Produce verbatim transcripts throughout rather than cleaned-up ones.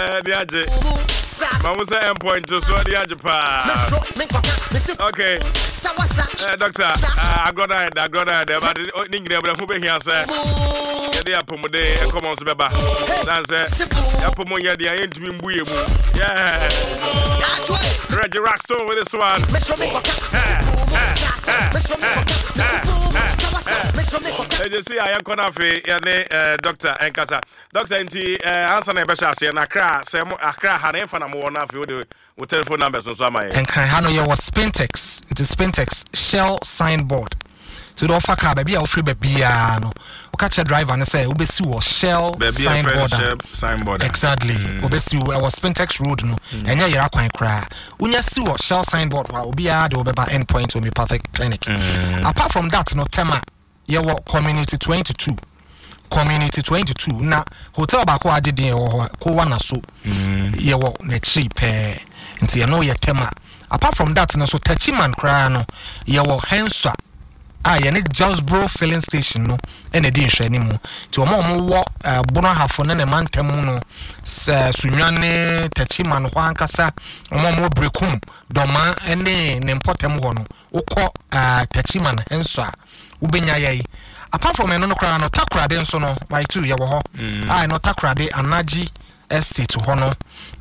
Ɛde agye ma mo sɛ endpoint so ɛde agye paa. Okay, uh, doctor, uh, agorɔ no ayɛ dɛ, agorɔ no ayɛ dɛ, but ne nyinaa mu ho bɛhia sɛ yɛde apɔmuden ɛkɔmɔ nso bɛba sane sɛ yɛapɔmu nyɛ deɛ yɛntumi mbu yɛ mu. Yeah, Reggie Rockstone with this one. Ɛgye si a yɛnkɔ no afei yɛne doctor ɛnkasa. Doctor, nti ansa na yɛbɛhyɛ aseɛ no, Akra sɛ mo Akra ha na yɛmfa na mowɔ no, afei wode wo telephone numbers nso ama yɛn. Nkran ha no yɛwɔ Spintex, nti Spintex Shell signboard, nti wode ɔfa car baabi a wofiri baabiaa no, woka kyerɛ driver no sɛ wobɛsi wɔ Shell signboard a signboard. Exactly, wobɛsi wɔ ɛwɔ Spintex Road no, ɛnyɛ yɛra kwan koraa. Wonya si wɔ Shell signboard hɔ a, obiara de wobɛba Endpoint Homeopathic Clinic. Apart from that no, Tema yɛwɔ Community twenty-two, Community twenty-two na hotel baako a agye din ɛwɔ hɔ, Kowa na so yɛwɔ n'akyiri pɛɛ, nti ɛno yɛ Tema. Apart from that no so, Techiman koraa no yɛwɔ Henswa a yɛne Josbro Filling Station no ɛna ɛdi nhwɛani mu. Nti wɔn a wɔwɔ ɛɛ Bono Ahafo ne ne mantam mu no, sɛ Sunyani, Techiman hɔ ankasa, wɔn a wɔwɔ Brekum, Dɔma ne ne mpɔtam hɔ no, wokɔ ɛɛ Techiman Henswa a, wobɛnya yɛ yi. Apart from ɛno no koraa no, Takorade nso no, my two, yɛwɔ hɔ a ɛno Takorade Anaji Estate hɔ no,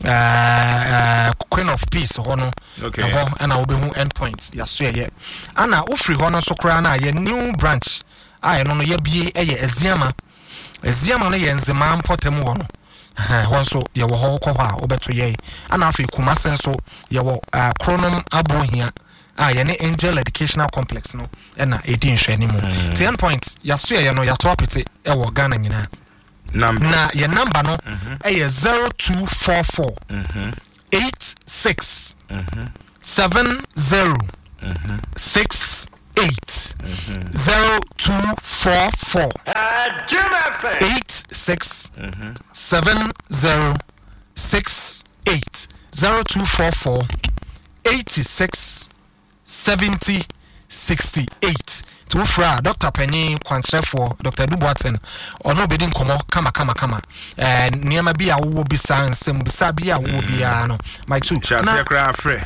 ɛɛ Queen of Peace hɔ no, Okay. ɛhɔ ɛna wobɛhu Endpoint yɛaso yɛyɛ. Ana wofiri hɔ no nso koraa no a, yɛ new branch a ɛno no yɛbie ɛyɛ Aziama. Aziama no yɛ Nzemaa mpɔtam hɔ no. Ɛhɛn, hɔ nso yɛwɔ hɔ, wokɔ hɔ a wobɛto yɛn. Ana afei Kumase nso yɛwɔ uh, Kronom Abohia a yɛne Angel Educational Complex no ɛna ɛdi nhwɛani mu. Nti Endpoint yɛaso yɛyɛ no, yɛato apete ɛwɔ Ghana nyinaa. Numbers. Na yɛ number no ɛyɛ zero two four four eight six seven zero six eight, zero two four four eight six seven zero six eight, zero two four four eighty-six seventy sixty-eight. Nti wofrɛ a, Doctor panyin kwankyerɛfoɔ Doctor Edu Boateng, ɔno obɛdi nkɔmmɔ kama kama kama. ɛɛ nneɛma bi a wowɔ bisa, nsɛm bisa bi a wowɔ biara no, mike two. Hyɛ aseɛ koraa frɛ.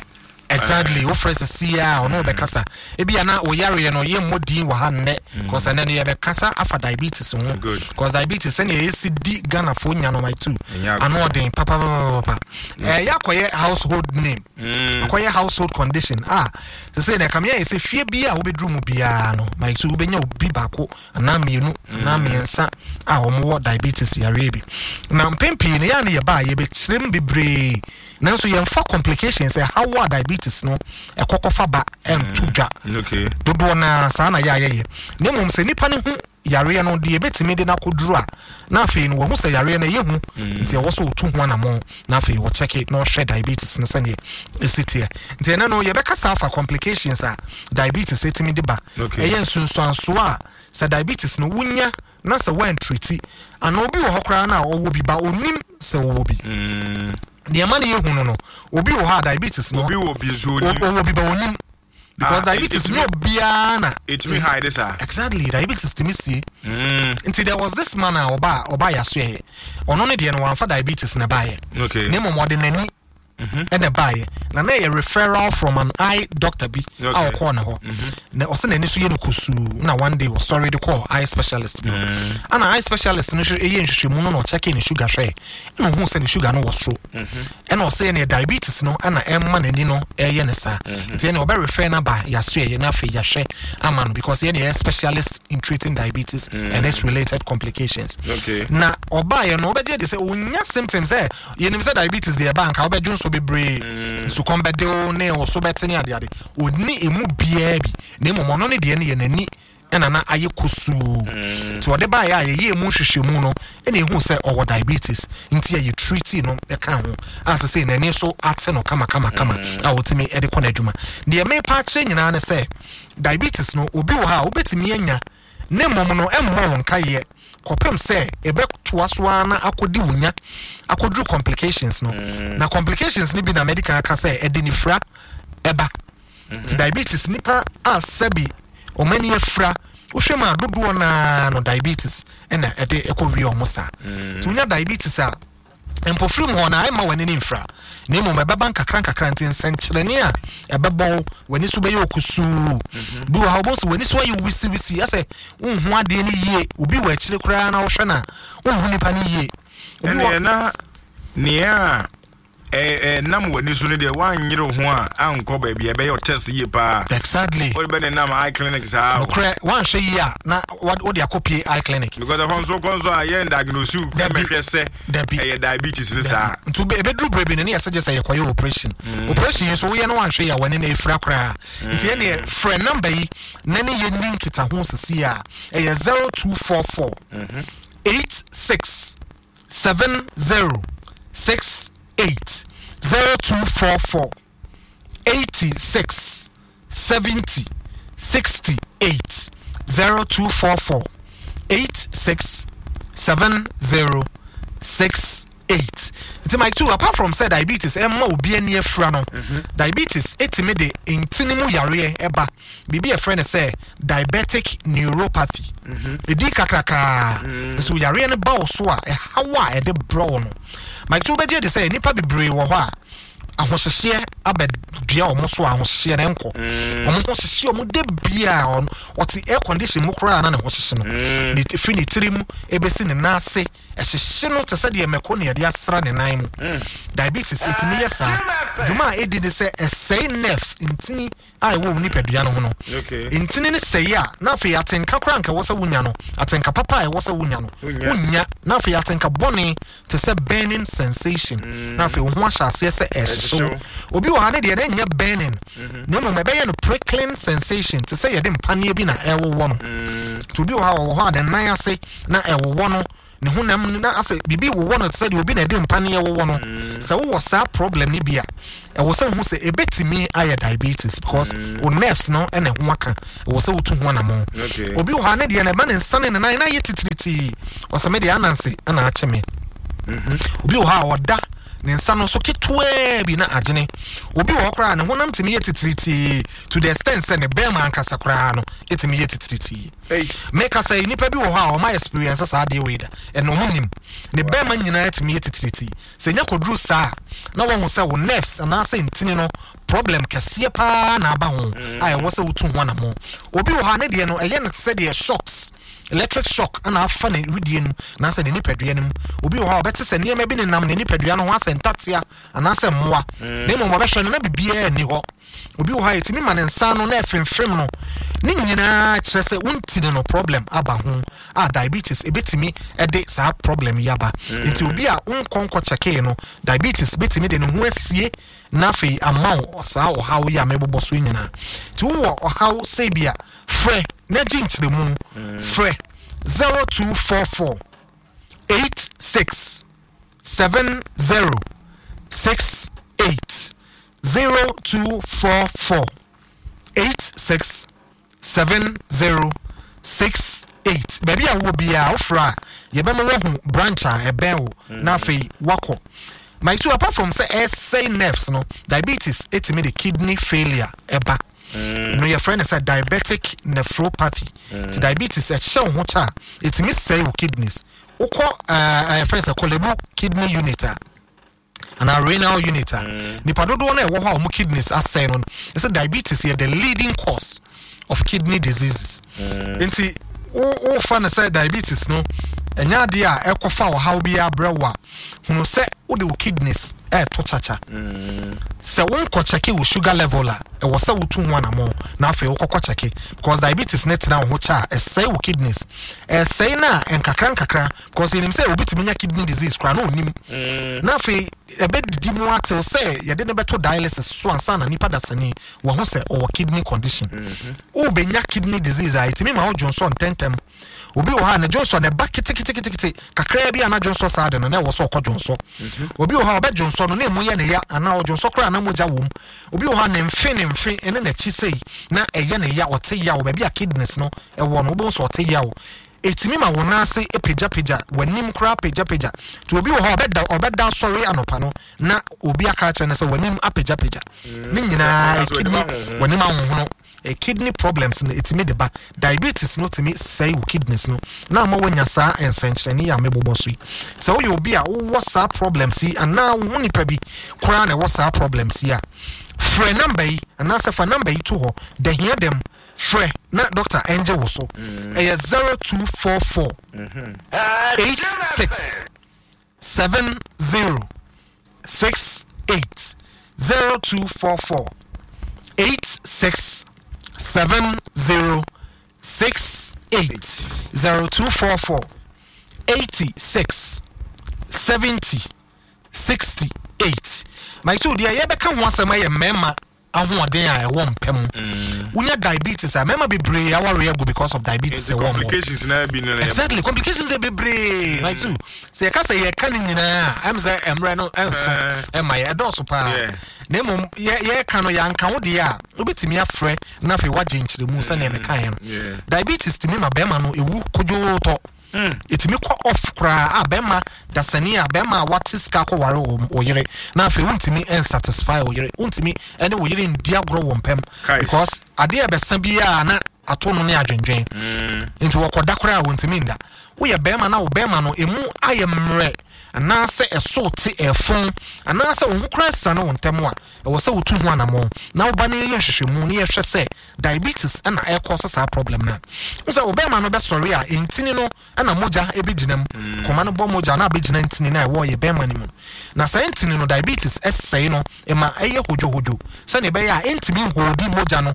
Exactly, wofrɛ sisi a, ɔno wobɛkasa. Ebi a na woyareɛ no, yɛmmɔ din wɔ ha nnɛ, cause ɛnɛ no yɛbɛkasa afa diabetes ho. Good. Cause diabetes, sɛnea yɛsi di Ghanafoɔ nya no, mike two, Ɛnyɛ agorɔ. ano ɔden papapapapa. Ɛyɛ akɔyɛ household name, akɔyɛ household condition a sɛ sɛ na ɛkame ayɛ sɛ fie bi a wobɛduru mu biara no, mike two, wobɛnya obi baako anaa mmienu anaa mmiɛnsa a wɔwɔ diabetes yareɛ bi. Na mpɛn pii no, yɛa no yɛba a yɛbɛkyerɛ mu bebree, nanso yɛmfa complications ɛhaw a diabetes no ɛkɔkɔfa ba ɛnto dwa. Okay dodoɔ naa saa na yɛ a yɛyɛ, na mmom sɛ nipa no ho yareɛ no deɛ, yɛbɛtumi de no akɔduru a, na afei no wɔho sɛ yareɛ no ɛyɛ hu, nti ɛwɔ sɛ ɔtu ho anammɔn na afei wɔkyɛke na ɔhwɛ diabetes no sɛneɛ ɛsi teɛ. Nti ɛnɛ no yɛbɛkasa afa complications a diabetes ɛtumi de ba. Okay. Ɛyɛ nsunsuansoɔ a sɛ diabetes no wonya na sɛ woantreat, anaa obi wɔ hɔ koraa no a ɔwɔ bi ba ɔnim sɛ ɔwɔ bi. Deɛ ma no yɛhu no no obi wɔ hɔ a diabetes no Obi wɔ bi nso o- onim. Ɔwɔ bi ba ɔnim because Ah, diabetes it- nyɛ obiara na ɛtumi hide saa. Exactly, diabetes tumi sie. Nti there was this man a ɔba ɔba yaso yɛ, ɔno ne deɛ no wamfa diabetes na baayɛ, okay na mmom ɔde n'ani ɛna baayɛ, na na ɛyɛ referral from an eye doctor bi a Okay. ɔkɔɔ ne hɔ na ɔsɛ n'ani so yɛ no kusuu. Na one day ɔsɔre de kɔɔ eye specialist bi hɔ, ana eye specialist no hwɛ, ɛyɛ nhwehwɛmu no na ɔkyɛke ne sugar hwɛ, ɛna ohun sɛ ne sugar no wɔ soro, ɛna ɔsɛ ɛne diabetes no ɛna ɛma n'ani no ɛyɛ ne saa. Nti ɛna ɔbɛ refer no aba yaso yɛ na afei yɛahwɛ ama no, because yɛne yɛ specialist in treating diabetes and its related complications. Okay. Na ɔbaeɛ no, wobɛgye de sɛ ɔnya symptoms sɛ yɛnim sɛ diabetes deɛ ɛba nka wobɛdwo nso bebree, nsukɔm bɛde wo ne wo so bɛte ne adeade. Ɔnni ɛmu biara bi, na mmom ɔno ne deɛ no yɛ n'ani ɛna na ayɛ kusuu. Nti ɔde baeɛ a yɛyɛ mu nhwehwɛmu no, ɛna ɛhu sɛ ɔwɔ diabetes, nti yɛyɛ treat no ɛka ho a sɛ sɛ n'ani so ate no kamakamakama a ɔtumi ɛde kɔ n'adwuma. Deɛ mepa akyerɛ nyinaa ne sɛ diabetes no, obi wɔ ha a wobɛtumi anya, ne mmom no ɛmmɔ wo nkaeɛ kɔpem sɛ ɛbɛtoa so ara na akɔdi wo nya akɔduru complications no. Na complications no bi na medical aka sɛ ɛde nifira ɛba. Nti diabetes, nipa a sɛbi ɔmani afira, wohwɛ mu a, dodoɔ naa no diabetes ɛna ɛde ɛkɔ wie ɔmo saa. Nti wonya diabetes a Mpofiri mu hɔ na ɛma w'ani ne mfra, na mmom ɛbɛba nkakra nkakra. Nti nsɛnkyerɛnne a ɛbɛbɔ wo, w'ani so bɛyɛ okusuu. Bi wɔ ha, wobɛhu sɛ w'ani so ayɛ wisiwisi, ɛsɛ wonhu adeɛ no yie. Obi wɔ akyire koraa na wohwɛ no a, wonhu nipa no yie. Obi wɔ Ɛneɛ na nea a ɛnam w'ani so no deɛ, woanyere wo ho a ankɔ baabi a ɛbɛyɛ wo test yie paa. Exactly. Wode bɛ ne nam eye clinic saa o. Nokorɛ, woanhwɛ yie a na wode wode akɔpie eye clinic. Because ɛhɔ nso kɔ nso a yɛn diagnose wo. Dabi. Mɛhwɛ sɛ Dabi. ɛyɛ diabetes ne saa. Nti wobe- ɛbɛduru berɛ bi no ne yɛsɛ gye sɛ yɛkɔyɛ operation. Operation yi nso woyɛ no, woanhwɛ yie a, w'ani no ɛfira koraa. Nti ɛneɛ frɛ number yi na ne yɛnni nkitaho sisi a ɛyɛ zero two four four eight six seven zero six eight, zero two four four eighty-six seventy sixty-eight, zero two four four eighty-six seventy sixty-eight. Nti Mike two, apart from sɛ diabetes ɛma obi ani afira no, diabetes ɛtumi de ntini mu yareɛ ɛba, biribi a yɛfrɛ no sɛ diabetic neuropathy. Ɛdi kakrakaa nso yareɛ no ba wo so a, ɛhaw a ɛde brɛ wo no, Mike two, wobɛgye de sɛ nnipa bebree wɔ hɔ a ahohyehyeɛ abɛdua wɔn so a ahohyehyeɛ no nkɔ. Wɔn ho hyehye wɔn de bia ɔno ɔte air condition mu koraa na ne ho hyehye no. Ne ti- firi ne tirim ebesi ne nan ase ɛhyehye no te sɛ deɛ mɛko ne yɛde asra ne nan mu. Diabetes ɛtumi yɛ saa. Dwuma a ɛdi ne sɛ ɛsɛe nerves, ntini a ɛwɔ wo nipadua no ho no. Okay. Ntini no sɛe a, na afei atenka koraa nka ɛwɔ sɛ wonya no, atenka papa a ɛwɔ sɛ wonya no, Wonya. wonya. Na afei atenka bɔne te sɛ burning sensation, na afei wo ho ahyɛ aseɛ sɛ ɛhyehye wo. Ɛhyehye. Obi wɔ ha ne deɛ na ɛnyɛ burning, na mmom ɛbɛyɛ no prickling sensation, te sɛ yɛde mpaneɛ bi na ɛwowɔ no. Nti obi wɔ ha, ɔwɔ hɔ a ne nan ase na ɛwowɔ no, ne honam no na asɛ biribi wowɔ no, te sɛ deɛ obi na ɛde mpaneɛ wowɔ no. Sɛ wowɔ saa problem no bi a, ɛwɔ sɛ wohu sɛ ɛbɛtumi ayɛ diabetes, because wo nerves no ɛna ɛho aka, ɛwɔ sɛ wotu ho anammɔn. Okay. Obi wɔ ha ne deɛ na ɛma ne nsa ne ne nan na ayɛ titiritii, ɔsɛ me deɛ ananse ɛna akye me. Obi wɔ hɔ a ɔda, ne nsa no so ketewaa bi na agyene. Obi wɔ hɔ koraa ne honam tumi yɛ titiritii to the extent sɛ ne bɛrima ankasa koraa no ɛtumi yɛ titiritii. Ei. Meka sɛ nnipa bi wɔ hɔ a ɔma experience saa adeɛ wei da, ɛna ɔmo nim ne bɛrima nyinaa tumi yɛ titiritii. Sɛ nya kɔduru saa a, na wɔhu sɛ wo nerves anaasɛ ntini no problem kɛseɛ paa na aba ho a ɛwɔ sɛ wotu ho anammɔ. Obi wɔ hɔ a ne deɛ no ɛyɛ no te sɛ deɛ shocks, electric shock ana afa ne widie no mu anaasɛ ne nipadua no mu. Obi wɔ hɔ a ɔbɛte sɛ nneɛma bi nenam ne nipadua no ho, asɛ ntatea anaasɛ mmoa, na mmom ɔbɛhwɛ no na biribiara nni hɔ. Obi wɔ hɔ a yɛtumi ma ne nsa no na ɛfemfem no. Ne nyinaa kyerɛ sɛ wontini no problem aba ho a diabetes ɛbɛtumi ɛde saa problem yi aba. Nti obi a wonkɔ nkɔ kyɛkee no, diabetes bɛtumi de ne ho asie na afei ama wo saa ɔhaw yi a mebobɔ so yi nyinaa. Nti wowɔ ɔhaw sɛ bi a, frɛ na gye nkyerɛmu. Frɛ zero two four four eight six seven zero six eight, zero two four four eight six seven zero six eight. Baabi a wowɔ biara, wofrɛ a yɛbɛma woahu branch a ɛbɛn wo na afei woakɔ. Mike two, apart from sɛ ɛsɛe nerves no, diabetes ɛtumi de kidney failure ɛba. No yɛfrɛ no sɛ diabetic nephropathy. Nti diabetes ɛhyɛ wo ho kyɛ a, ɛtumi sɛe wo kidneys. Wokɔ ɛɛ yɛfrɛ no sɛ Korle Bu kidney unit a anaa renal unit a, nipa dodoɔ no a ɛwɔ hɔ a wɔn kidneys asɛe no, ɛsɛ diabetes yɛ the leading cause of kidney diseases. Nti wo wofa no sɛ diabetes no ɛnyɛ adeɛ a ɛkɔfa ɔhaw bi abrɛ wo a, hunu sɛ wode wo kidneys ɛɛto kyakya. Sɛ wonkɔ kyɛke wo sugar level a, ɛwɔ sɛ wotu ho anammɔn na afei wokɔkɔ kyɛke, because diabetes ne tena wo ho kyɛ a, ɛsɛe wo kidneys. Ɛsɛe no a nkakra nkakra, because yɛnim sɛ obi tumi nya kidney disease koraa na onim, na afei ɛbɛdidi mu atew sɛ yɛde no bɛto dialysis so ansa na nipa dasani wɔn ho sɛ ɔwɔ kidney condition. Wobɛnya kidney disease a, ɛtumi ma wo dwonsɔ ntɛntɛm. Obi wɔ hɔ a ne dwonsɔ ne ba keteketekete kakraa bi a na dwonsɔ saa de no na ɛwɔ sɛ ɔkɔ dwonsɔ. Obi wɔ hɔ a ɔbɛ dwonsɔ no na emu yɛ ne ya, anaa ɔdwonsɔ koraa na mogya wɔ mu. Obi wɔ hɔ a ne mfe ne mfe ne n'akyi sei na ɛyɛ ne ya, ɔte ya wɔ baabi a kidneys no ɛwɔ no. Wobɛhu sɛ ɔte ya wɔ ɛtumi ma wo nan ase pagyapagya, w'anim koraa pagyapagya. Nti obi wɔ hɔ a ɔbɛda ɔbɛda sɔre anɔpa no na obi aka akyerɛ no sɛ w'anim apagyapagya. Ne nyinaa Sɛ kidney w'anim ahohono. W'anim ahohono. eh, kidney problems no ɛtumi de ba. Diabetes no tumi sɛe wo kidneys no na ama woanya saa nsɛnkyerɛnne yi a mebobɔ so yi. Sɛ woyɛ obi a wowɔ saa problems yi anaa wo ho nipa bi koraa na ɛwɔ saa problems yi a, frɛ number yi anaasɛ fa number yi to hɔ da hia dɛm, frɛ na doctor ɛngye wo so. Ɛyɛ zero two four four eight six seven zero six eight, zero two four four eight six seven zero six eight, zero two four four eighty-six seventy sixty-eight. Mike two deɛ, yɛbɛka ho asɛm ayɛ mmarima ahoɔden a ɛwɔ mpɛ mu. Wonya diabetes a, mmarima bebree aware agu because of diabetes. Nti ɛwɔ mu complications na bi no na Exactly, complications de bebree. Mike two, sɛ yɛka sɛ yɛka ne nyinaa a, ɛm sɛ mmerɛ no ɛnso Eh. ɛma yɛ ɛdɔɔso paa. Yeah. Na mmom yɛ- yɛka no, yɛanka wo deɛ a, wobɛtumi afrɛ na afei woagye nkyerɛmu sɛnea mekaeɛ no. Yeah. Diabetes tumi ma bɛrima no ɛwu kodwootɔ, ɛtumi kɔ off koraa a bɛrima dasani a bɛrima a wate sika kɔware wo wo yere na afei wontumi nsatisfy wo yere, wontumi ɛne wo yere ndi agorɔ wɔ mpɛm Kais. because adeɛ a ɛbɛsa biara na ato no ne adwendwen, nti wɔkɔda koraa a wɔntumi nda. Woyɛ bɛrima na wo bɛrima no emu ayɛ mmerɛ anaasɛ ɛso te ɛfon anaasɛ wo ho koraa sane wo ntɛm a, ɛwɔ sɛ wotu ho anammɔn na woba no yɛyɛ nhwehwɛmu na yɛhwɛ sɛ diabetes ɛna ɛkɔ sɛ saa problem no a wo sɛ wo bɛrima no bɛsɔre a, ntini no ɛna mogya ɛbɛgyina mu. Kɔma no bɔ mogya na abɛgyina ntini no a ɛwɔ yɛ bɛrima no mu, na saa ntini no diabetes ɛsɛe no, ɛma ɛyɛ hodwohodwo sɛnea ɛbɛyɛ a ɛntumi nhoodi mogya no,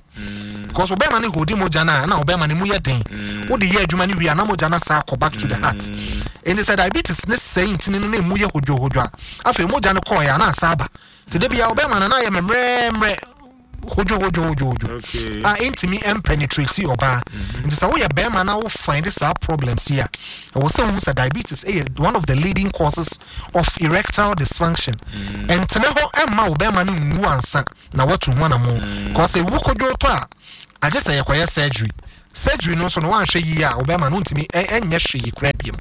because wo bɛrima no hoodi mogya no a, na wo bɛrima no mu yɛ den. Wode yɛ adwuma no wie a, na mogya no asa akɔ back to the heart. Ɛnti sɛ diabetes ne sɛe ntini no na ɛmu yɛ hodwohodwo a, afei mogya no kɔɔeɛ a na asa aba, nti da bia wo bɛrima no na ayɛ mmerɛmmerɛ hodwohodwohodwohodwo Okay. a ɛntumi mpenetrate ɔbaa. Nti sɛ woyɛ bɛrima na wo find saa problems yi a, ɛwɔ sɛ wohu sɛ diabetes ɛyɛ one of the leading causes of erectile dysfunction. Ɛntena hɔ ɛmma wo bɛrima no nwu ansa na woatu ho anammɔ, because ɛwu kodwo tɔ a, agye sɛ yɛkɔyɛ surgery. Surgery no nso no, woanhwɛ yie a, wo bɛrima no ntumi ɛ- ɛnyɛ hwee koraa biom.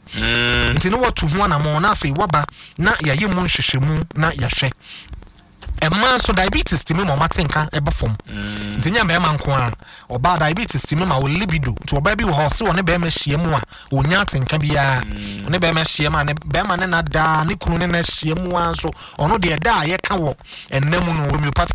Nti ne woatu ho anammɔ na afei woaba na yɛayɛ mu nhwehwɛmu na yɛahwɛ. Ɛmmaa nso diabetes tumi ma ɔma te nka ɛba fam, nti nyɛ mmarima nko a. Ɔbaa diabetes tumi ma wo libido, nti ɔbaa bi wɔ hɔ, ɔse ɔne bɛrima ahyia mu a, ɔnya atenka biara. Ɔne bɛrima ahyia mu a, ne bɛrima ne na daa ne kunu ne na ahyia mu a nso, ɔno deɛ da a yɛka wɔ ɛnna mu no. Homeopathy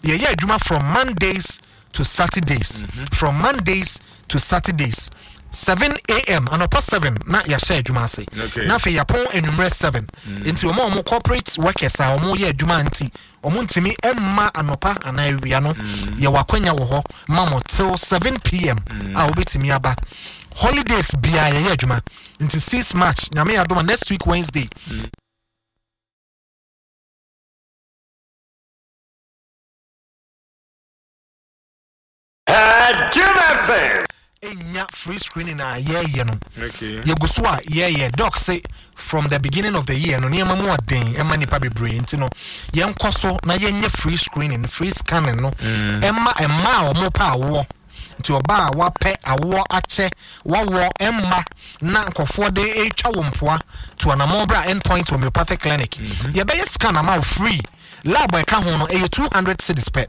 yɛyɛ adwuma from Mondays to Saturdays, from Mondays to Saturdays, seven a m, anɔpa seven na yɛahyɛ adwuma ase Okay. na afei yɛapɔn anwummerɛ seven. Nti wɔn a wɔn corporate workers a wɔn yɛ adwuma nti wɔn ntumi mma anɔpa anaa awia no, yɛwɔ akwanya wɔ hɔ ma mo till seven p m a wobɛtumi aba. Holidays biara yɛyɛ adwuma, nti six March, Nyame yɛ adom a, next week Wednesday. Jim F M. Ɛnya free screening a yɛyɛ no. Okay. Yɛgu so a yɛyɛ. Doc say from the beginning of the year no, nneɛma mu ɔden ɛma nipa bebree, nti no yɛnkɔ so na yɛnyɛ free screening, free scanning no ɛma mmaa a wɔn pɛ awoɔ. Nti ɔbaa a wapɛ awoɔ akyɛ, wawoɔ ɛmma na nkɔfoɔ de etwa wɔn mpoa to anamɔ bra Endpoint Homeopathic Clinic, yɛbɛyɛ scan ama wo free. Lab a ɛka ho no ɛyɛ two hundred cedis pɛ.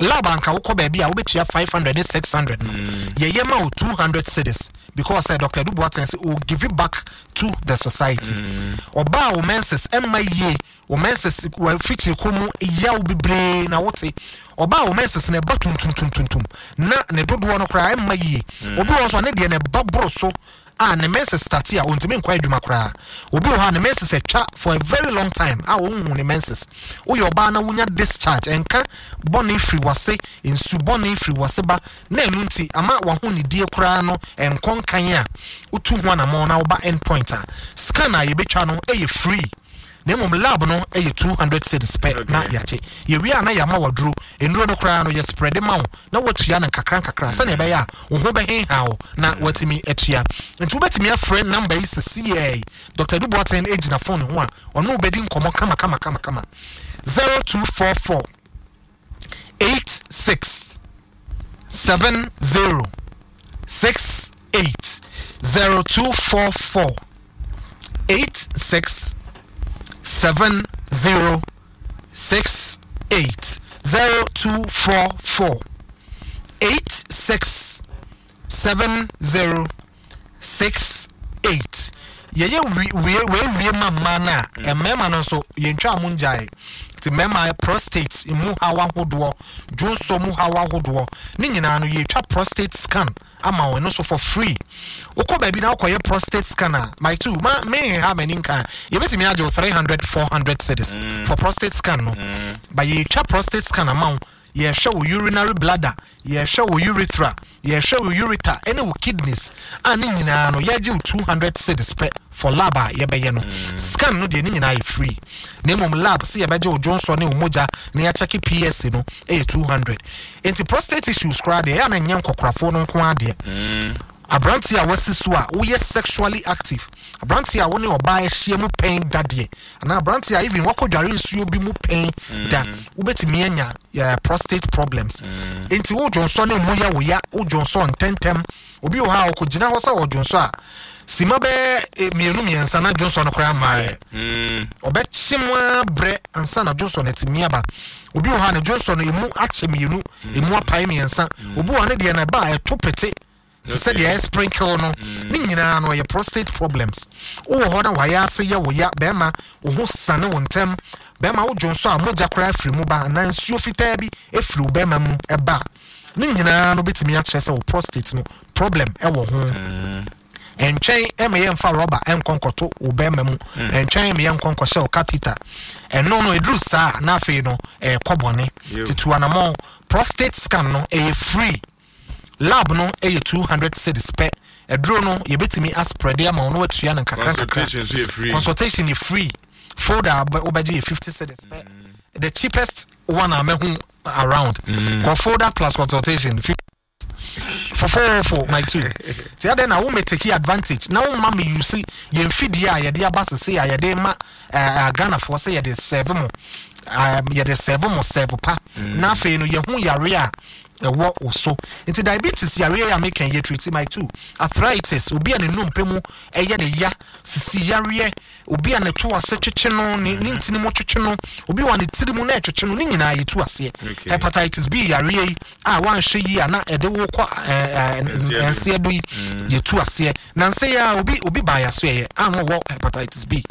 Lab anka wokɔ baabi a wobɛtua five hundred ne six hundred no, yɛyɛ ma wo two hundred cedis because uh, Doctor Adu Boateng sɛ o give it back to the society. Ɔbaa wo menses ɛmma yie, wo menses wafikyiri kɔ mu yaw bebree na wote, ɔbaa wo menses na ɛba tuntumtuntumtum na ne dodoɔ no koraa ɛmma yie. Obi wɔ nso a ne deɛ na ɛba boro so a, ne menses start a, ɔntumi nkɔ adwuma koraa. Obi wɔ hɔ a ne menses atwa for a very long time a ɔnhu ne menses. Woyɛ ɔbaa na wonya discharge, ɛnka bɔne firi wase, nsu bɔne firi wase ba na ɛno nti ama wahonidie koraa no ɛnkɔ nkan a, wotu ho anammɔn na woba End Point a, scan a yɛbɛtwa no ɛyɛ free, na mmom lab no ɛyɛ two hundred cedis pɛ. Okay. Na yɛagye, yɛwie a na yɛama waduro. Nnuro no koraa no yɛ spread ma wo na watua no nkakra nkakra sɛnea ɛbɛyɛ a wo ho bɛhenha wo na watumi atua. Nti wobɛtumi afrɛ number yi sesiɛ. Doctor Adu Boateng gyina phone ho a ɔno wobɛdi nkɔmmɔ kama kama kama kama. zero two four four eight six seven zero six eight, zero two four four eight six seven zero six eight, zero two four four eight six seven zero six eight. Yɛyɛ wie wie wie ma mmaa no a, mmarima no nso yɛntwa mo ngyae. Nti mmarima prostate mu haw ahodoɔ, dwonsɔ mu haw ahodoɔ ne nyinaa no, yɛtwa prostate scan ama wɔn nso for free. Wokɔ baabi na wokɔyɛ prostate scan a, my two ma me ha m'ani nka, yɛbɛtumi agye wo three hundred four hundred cedis mm. for prostate scan no mm. But yɛtwa prostate scan ama wo, yɛhwɛ wo urinary bladder, yɛhwɛ wo urethra, yɛhwɛ wo ureter ɛne wo kidneys a, ne nyinaa no yɛgye wo two hundred cedis pɛ for lab a yɛbɛyɛ no mm. Scan no deɛ, ne nyinaa yɛ free, na mmom lab sɛ yɛbɛgye wo dwonsɔ ne wo mogya na yɛakyɛke P S A no ɛyɛ two hundred. Nti prostate issues koraa deɛ, ɛyɛ a na nyɛ nkɔkorafoɔ no nko adeɛ mm. Aberante a wasi so a woyɛ sexually active, aberante a wo ne ɔbaa ahyia mu pɛn dadeɛ, anaa aberante a even wakɔ dware nsuo bi mu pɛn da, wobɛtumi anya uh, prostate problems mm. Nti wo dwonsɔ ne mu yɛ wo ya, wo dwonsɔ ntɛntɛm. Obi wɔ hɔ a ɔkɔgyina hɔ sɛ ɔdwonsɔ a, sima bɛɛ mmienu mmiɛnsa na dwonsɔ no koraa mmaeɛ. Ɔbɛkye mu abrɛ ansa na dwonsɔ no atumi aba. Obi wɔ hɔ a ne dwonsɔ no emu akyɛ mmienu, emu apae mmiɛnsa. Obi wɔ hɔ ne deɛ no ɛba a, ɛto pete te sɛ deɛ ɛyɛ sprinkle no. Ne nyinaa no ɔyɛ prostate problems. Wowɔ hɔ na wayɛ ase yɛ wo ya, bɛrima wo ho sane wo ntɛm, bɛrima wo dwonsɔ a mogya koraa afiri mu ba, anaa nsuo fitaa bi afiri wo bɛrima mu ɛba, ne nyinaa no bɛtumi akyerɛ sɛ wo prostate no problem ɛwɔ ho. Ɛntwɛn ɛma yɛmfa rɔba ɛnkɔ nkɔto wo bɛrima mu, ɛntwɛn ɛma yɛnkɔ nkɔhyɛ wo catheter. Ɛno no ɛduru saa na afei no ɛɛkɔ bɔne. Tutu anamɔ. Prostate scan no ɛyɛ free, lab no ɛyɛ two hundred cedis pɛ. Ɛduro no yɛbɛtumi aspread ama wo na watua no nkakra nkakra. Consultation nso yɛ free. Consultation yɛ free. Folder a wobɛgye yɛ fifty cedis pɛ, the cheapest one a mɛhu around mm. Kɔ folder plus consultation fofofo, my two. Ti adɛn na wo me take advantage na wo ma me use yɛn fidie a yɛde aba sese a yɛde ma ɛɛ Ghanafoɔ sɛ yɛde serve mo, ɛɛ yɛde serve mo serve pa mm. Na afei no yɛho yare a ɛwɔ wo so. Nti diabetes yareɛ a meka yɛ treat, my two. Arthritis, obi a ne nnompe mu ɛyɛ ne ya, sisi yareɛ, obi a ne to ase twetwe no, ne ne ntini mu twetwe no, obi wɔ ne tiri mu na ɛtwetwe no, ne nyinaa yɛtu aseɛ. Hepatitis B yareɛ yi a wanhwɛ yi a na ɛde wo kɔ ɛɛ nseɛ do yi, yɛtu aseɛ. Na nse yi a obi obi baa yɛ so yɛ a na ɔwɔ hepatitis B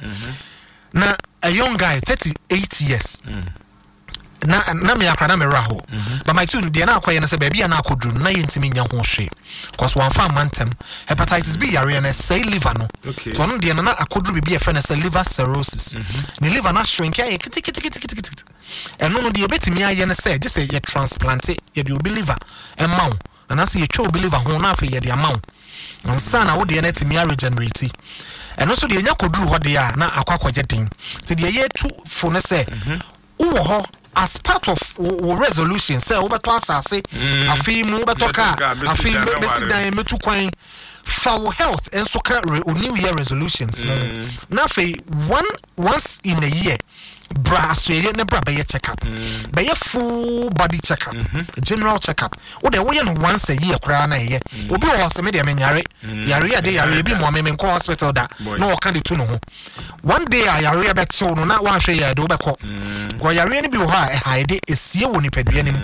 na a young guy, thirty eight years mm. na na me akora na me werɛ hɔ. But my two deɛ, na akɔyɛ no sɛ baabi a na akɔduru no na yɛntumi nya ho hwee cause wɔamfa amma ntɛm. Hepatitis B yareɛ no ɛsɛe liver no. Okay. Nti ɔno deɛ no na akɔduru biribi a yɛfrɛ no sɛ liver cirrhosis. Ne liver no ashrink ayɛ keteketeketekete. Ɛno no deɛ, yɛbɛtumi ayɛ no sɛ gye sɛ yɛ transplante, yɛde obi liver ɛma wo, anaasɛ yɛtwa obi liver ho na afei yɛde ama wo ansa na wo deɛ no atumi aregenerate. Ɛno nso deɛ, ɛnya kɔduru hɔ deɛ a na akɔ akɔyɛ den. Nti deɛ yɛtu fo no sɛ wowɔ hɔ as part of wo wo resolution sɛ wobɛtɔ asase afei mu, wobɛtɔ Mɛtɔ car, car, mɛsi afei dan, mɛ- mɛsi mɛware. dan, mɛtu kwan, fa wo health nso ka re, wo new year resolutions no ho. Na afei one once in a year, bra asoɛyɛ ne bra bɛyɛ check up, bɛyɛ full body check up, general check up. Wo deɛ woyɛ no once a year koraa na ɛyɛ. Obi wɔ hɔ sɛ me deɛ menyare yare ade yare ebi mmoa me, menkɔ hospital da. Boy. Na ɔka de tu ne ho. One day a yareɛ bɛkyew no na woanhwɛ yɛ de wobɛkɔ kɔ. Yareɛ no bi wɔ hɔ a ɛha de esie wɔ nipadua no mu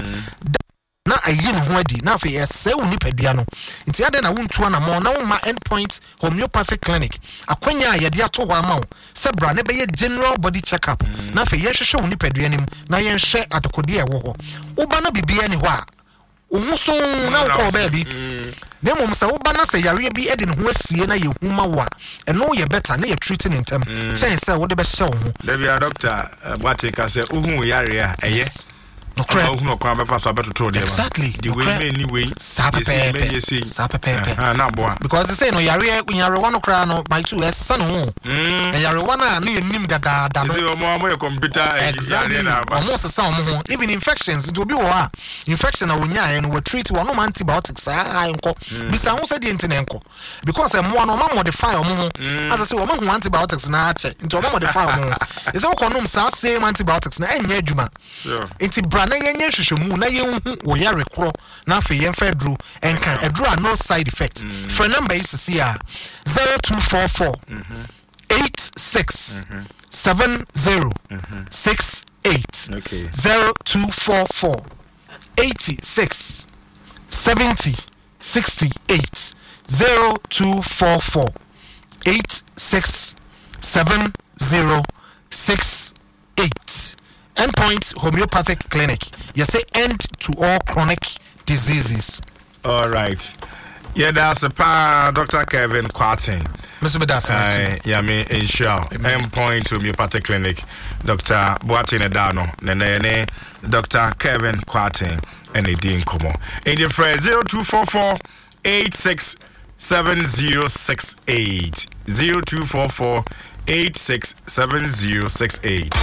na ayi ne ho adi na afei ɛsɛe wo nipadua no. Nti adɛn na wontu anammɔn na womma Endpoint Homeopathic Clinic akwanya a yɛde ato hɔ ama wo sɛ bra ne bɛyɛ general body check up na afei yɛhwehwɛ wo nipadua no mu na yɛnhwɛ adekodeɛ a ɛwɔ hɔ. Woba no biribiara ni hɔ a, wo ho so na wokɔɔ baabi. Na mmom sɛ woba na sɛ yareɛ bi de ne ho asie na yɛhu ma wo a, ɛno yɛ better na yɛtreat ne ntɛm kyɛn sɛ wode bɛhyɛ wo ho. Dabi a doctor Boate ka sɛ wohu yare a ɛyɛ Yes. Nokorɛ. Wohunu ɔkwan bɛfa so abɛtoto deɛ. Exactly. De wei Nokorɛ. mɛni wei. Saa Yɛsi pɛpɛɛpɛ. mɛnyɛ sei. Saa pɛpɛɛpɛ. Ɛhã, na aboa. Because sɛ no yareɛ nyarewa no koraa no, my two, ɛsesa ne ho. Mm. Na yarewa no a ne yɛnim dadaada no ɛsɛ ɔmo ɔmo yɛ computer ɛyi, exactly yareɛ na aba. Ɔmo sesa ɔmo ho. Even infections nti, obi wɔ hɔ a infection a onyaeɛ no wɔtreat wɔnom antibiotics saa nkɔ. Bisa ho sɛ deɛ nti na nkɔ, because mmoa no ɔma modify ɔmo ho asɛ sɛ ɔmo hu antibiotics na akyɛ nti ɔmo modify ɔmo ho ɛsɛ wokɔ nom saa same antibiotics na ɛnyɛ adwuma. Sure. Nti bra na yɛnyɛ nhwehwɛmu na yɛnhu wɔ yare korɔ na afei yɛmfa aduro ɛnka aduro a no side effect. Frɛ number yi sisi a, zero two four four eight six seven zero six eight. Okay. zero two four four eighty-six seventy sixty eight zero two four four eight six seven zero six eight. Endpoint Homeopathic Clinic. You say end to all chronic diseases. All right. Yeah, that's a pa Doctor Kevin Kwarteng. Mister Bedasa. Yami nhyira. Endpoint Homeopathic Clinic. Doctor Boateng Edano. Nene Doctor Kevin Kwarteng and ɛdi nkɔmmɔ. Enti frɛ zero two four four eight six seven zero six eight zero two four four eight six seven zero six eight.